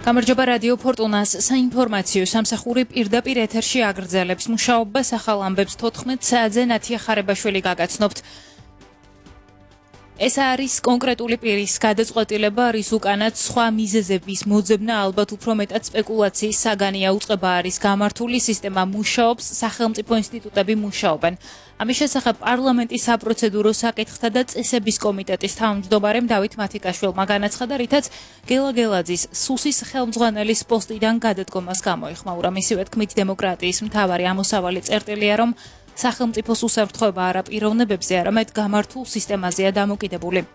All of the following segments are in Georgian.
გამარჯობა რადიო ფორტუნას საინფორმაციო სამსახური პირდაპირ ეთერში აგრძელებს მუშაობას ახალ ამბებს 14 საათზე ნათია ხარებაშვილი გაგაცნობთ. ეს არის კონკრეტული პირის გადაწყვეტილება, რის უკანაც სხვა მიზეზების მოძებნა ალბათ უფრო მეტად სპეკულაციის საგანია უწყება არის გამართული სისტემა მუშაობს, სახელმწიფო ინსტიტუტები მუშაობენ. ამის შესახებ პარლამენტის საპროცედურო საკითხთა და წესების კომიტეტის თავმჯდომარემ დავით მათიკაშვილმა განაცხადა, რითაც გელა გელაძის სუსის ხელმძღვანელის პოსტიდან გადადგომას გამოეხმაურა. მისივე თქმით, დემოკრატიის მთავარი ამოსავალი წერტილია, რომ სახელმწიფოს უსაფრთხოება არა პიროვნებებზე, არამედ გამართულ სისტემაზეა დამოკიდებული.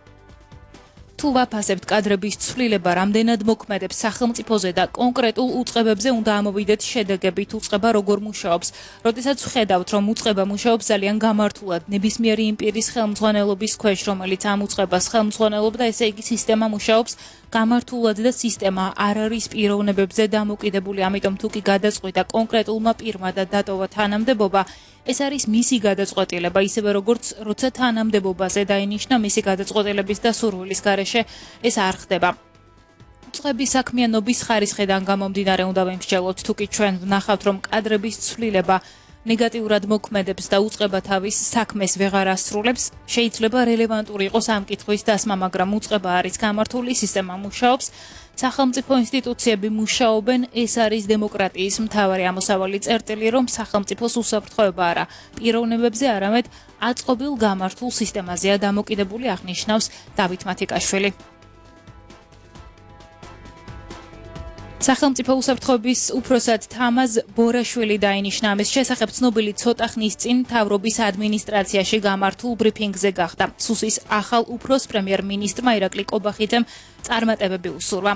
თუ ვაფასებთ კადრების ცვლილება რამდენად მოქმედებს სახელმწიფოზე და კონკრეტულ უწყებებზე უნდა ამოვიდეთ შედეგებით უწყება როგორ მუშაობს. როდესაც ვხედავთ, რომ უწყება მუშაობს ძალიან გამართულად ნებისმიერი იმ პირის ხელმძღვანელობის ქვეშ, რომელიც ამ უწყებას ხელმძღვანელობდა, ესე იგი სისტემა მუშაობს გამართულად და სისტემა არ არის პიროვნებებზე დამოკიდებული, ამიტომ თუ კი გადაწყვიტა კონკრეტულმა პირმა და დატოვა თანამდებობა, ეს არის მისი გადაწყვეტილება, ისევე როგორც როცა თანამდებობაზე დაინიშნა მისი გადაწყვეტილების და სურვილის გარეშე ეს არ ხდება. უწყების საქმიანობის ხარისხიდან გამომდინარე უნდა ვიმსჯელოთ, თუ კი ჩვენ ვნახავთ, რომ კადრების ცვლილება ნეგატიურად მოქმედებს და უწყება თავის საქმეს ვეღარ ასრულებს, შეიძლება რელევანტური იყოს ამ კითხვის დასმა, მაგრამ უწყება არის გამართული, სისტემა მუშაობს, სახელმწიფო ინსტიტუციები მუშაობენ, ეს არის დემოკრატიის მთავარი ამოსავალი წერტილი, რომ სახელმწიფოს უსაფრთხოება არა პიროვნებებზე, არამედ აწყობილ გამართულ სისტემაზეა დამოკიდებული, აღნიშნავს დავით მათიკაშვილი. სახელმწიფო უსაფრთხოების უფროსად თამაზ ბორაშვილი დაინიშნა, ამის შესახებ ცნობილი ცოტა ხნის წინ მთავრობის ადმინისტრაციაში გამართულ ბრიფინგზე გახდა. სუსის ახალ უფროს პრემიერ-მინისტრმა ირაკლი კობახიძემ წარმატებები უსურვა.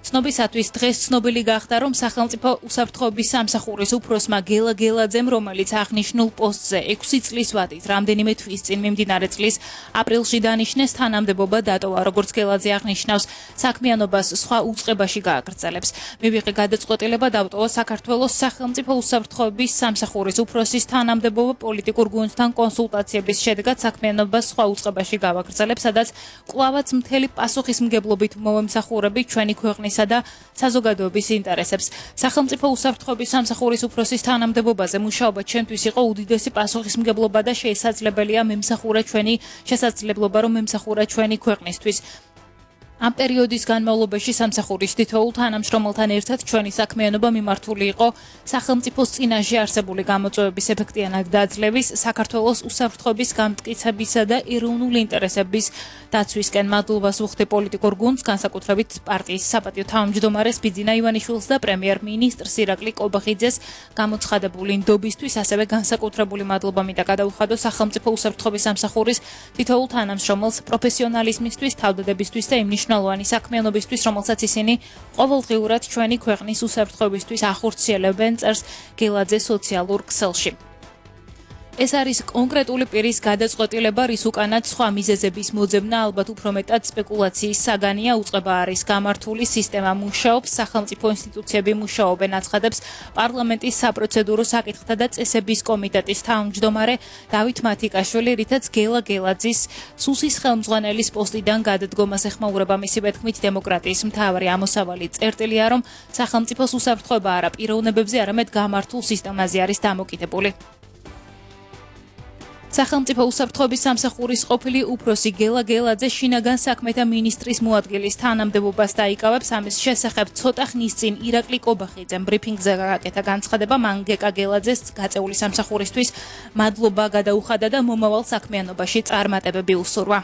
ცნობისათვის დღეს ცნობილი გახდა, რომ სახელმწიფო უსაფრთხოების სამსახურის უფროსმა გელა გელაძემ, რომელიც აღნიშნულ პოსტზე 6 წლის ვადით რამდენიმე თვის წინ მიმდინარე წლის აპრილში დანიშნეს, თანამდებობა დატოვა. როგორც გელაძე აღნიშნავს, საქმიანობას სხვა უწყებაში გააგრძელებს. მივიღე გადაწყვეტილება დავტოვა საქართველოს სახელმწიფო უსაფრთხოების სამსახურის უფროსის თანამდებობა პოლიტიკურ გუნდთან კონსულტაციების შედეგად საქმიანობას სხვა უწყებაში გავაგრძელებ, სადაც კვლავაც მთელი პასუხისმგებლობით მოვემსახურები ჩვენი ქვეყნის და საზოგადოების ინტერესებს. სახელმწიფო უსაფრთხოების სამსახურის უფროსის თანამდებობაზე მუშაობა ჩვენთვის იყო უდიდესი პასუხისმგებლობა და შესაძლებელია რომ მემსახურა ჩვენი ქვეყნისთვის. ამ პერიოდის განმავლობაში სამსახურის თითოეულ თანამშრომელთან ერთად ჩვენი საქმიანობა მიმართული იყო სახელმწიფოს წინაშე არსებული გამოწვევების ეფექტიანად დაძლევის, საქართველოს უსაფრთხოების გამტკიცებისა და ეროვნული ინტერესების დაცვისკენ. მადლობას ვუხდი პოლიტიკურ გუნდს, განსაკუთრებით პარტიის საპატიო თავმჯდომარეს ბიძინა ივანიშვილს და პრემიერ-მინისტრს ირაკლი კობახიძეს გამოცხადებული ნდობისთვის, ასევე განსაკუთრებული მადლობა მინდა გადაუხადო სახელმწიფო უსაფრთხოების სამსახურის თითოეულ თანამშრომელს პროფესიონალიზმისთვის, თავდადებისთვის და იმ მნიშვნელოვანი საქმიანობისთვის, რომელსაც ისინი ყოველდღიურად ჩვენი ქვეყნის უსაფრთხოებისთვის ახორციელებენ, წერს გელაძე სოციალურ ქსელში. ეს არის კონკრეტული პირის გადაწყვეტილება, რის უკანაც სხვა მიზეზების მოძებნა ალბათ უფრო მეტად სპეკულაციის საგანია უწყება არის გამართული, სისტემა მუშაობს, სახელმწიფო ინსტიტუციები მუშაობენ, აცხადებს პარლამენტის საპროცედურო საკითხთა და წესების კომიტეტის თავმჯდომარე დავით მათიკაშვილი, რითაც გელა გელაძის სუსის ხელმძღვანელის პოსტიდან გადადგომას ეხმაურება. მისივე თქმით, დემოკრატიის მთავარი ამოსავალი წერტილია, რომ სახელმწიფოს უსაფრთხოება არა პიროვნებებზე, არამედ გამართულ სისტემაზე არის დამოკიდებული. სახელმწიფო უსაფრთხოების სამსახურის ყოფილი უფროსი გელა გელაძე შინაგან საქმეთა მინისტრის მოადგილის თანამდებობას დაიკავებს. ამის შესახებ ცოტა ხნის წინ ირაკლი კობახიძემ ბრიფინგზე გააკეთა განცხადება, მან გეკა გელაძეს გაწეული სამსახურისთვის მადლობა გადაუხადა და მომავალ საქმიანობაში წარმატებები უსურვა.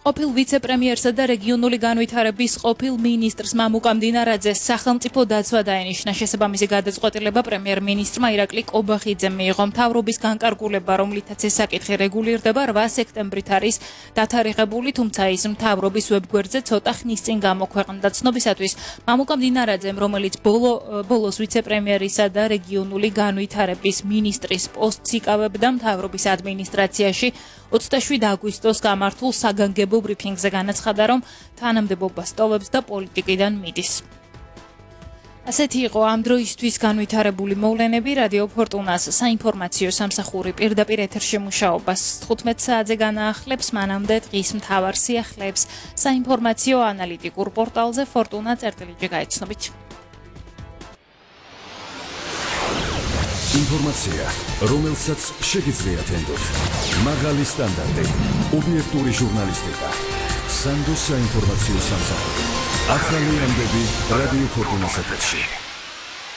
ყოფილ ვიცე-პრემიერსა და რეგიონული განვითარების ყოფილ მინისტრს მამუკა მდინარაძეს სახელმწიფო დაცვა დაენიშნა. შესაბამისი გადაწყვეტილება პრემიერ-მინისტრმა ირაკლი კობახიძემ მიიღო. მთავრობის განკარგულება, რომლითაც ეს საკითხი რეგულირდება, 8 სექტემბრით არის დათარიღებული, თუმცა ის მთავრობის ვებგვერდზე ცოტა ხნის წინ გამოქვეყნდა. ცნობისათვის, მამუკა მდინარაძემ, რომელიც ბოლოს ვიცე-პრემიერისა და რეგიონული განვითარების მინისტრის პოსტს იკავებდა მთავრობის ადმინისტრაციაში, 27 აგვისტოს გამართულ საგანგებო ბრიფინგზე განაცხადა, რომ თანამდებობას ტოვებს და პოლიტიკიდან მიდის. ასეთი იყო ამ დროისთვის განვითარებული მოვლენები რადიო ფორტუნას საინფორმაციო სამსახური პირდაპირ ეთერში მუშაობას 15 საათზე განაახლებს მანამდე დღის მთავარ სიახლეებს საინფორმაციო ანალიტიკურ პორტალზე fortuna.gr გაიცნობით. ინფორმაცია, რომელსაც შეგიძლიათ ენდოთ. მაღალი სტანდარტი, ობიექტური ჟურნალისტიკა. სანდოს საინფორმაციო სამსახური. ახალი ამბები რადიო ფორტუნას ეთერში.